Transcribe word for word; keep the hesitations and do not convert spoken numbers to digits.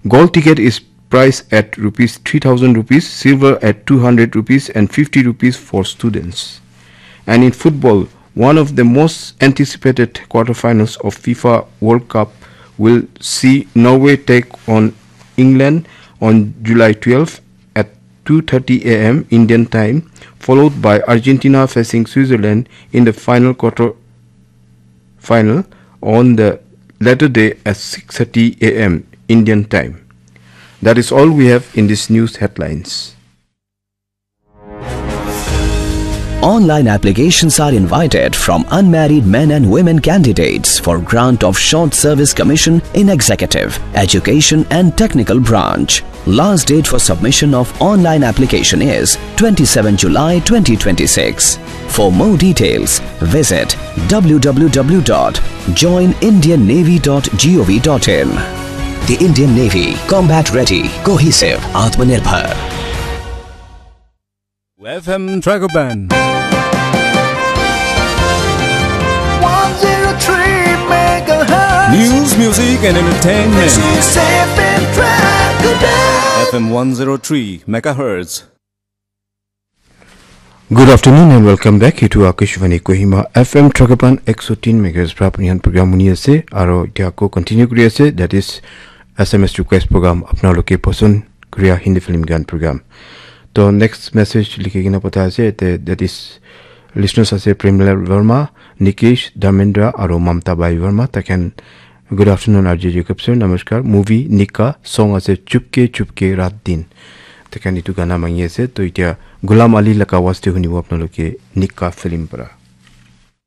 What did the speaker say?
Gold ticket is priced at rupees three thousand rupees, silver at two hundred rupees and fifty rupees for students. And in football, one of the most anticipated quarterfinals of FIFA World Cup will see Norway take on England on July twelfth at two thirty a m Indian time, followed by Argentina facing Switzerland in the final quarter final on the latter day at six thirty a m Indian time. That is all we have in this news headlines. Online applications are invited from unmarried men and women candidates for grant of short service commission in executive, education and technical branch. Last date for submission of online application is twenty-seven July twenty twenty-six. For more details, visit w w w dot join indian navy dot gov dot in. The Indian Navy, combat ready, cohesive, Atmanirbhar. F M Dragoban. one zero three megahertz. News, music, and entertainment. This is F M Dragoban. F M one zero three megahertz. Good afternoon and welcome back. Itu Akashvani Kohima F M Trakapan ekso tin megahertz pra apni khan program huni ase. Aro itia ako continue kuri ase. That is S M S request program. Apnaloke poson kuria Hindi film gan program. To next message likhi kena pata ase. Te, that is listeners ase Premlal Verma, Nikesh, Dharmendra, aro Mamta Bai Verma. Takhan good afternoon R J Jacob sir. Namaskar. Movie Nikah, song ase Chupke Chupke Raat Din. Takhan itu gana mangi ase. To itia Gulam Ali laka waste hunibo apnaloke Nikah film para.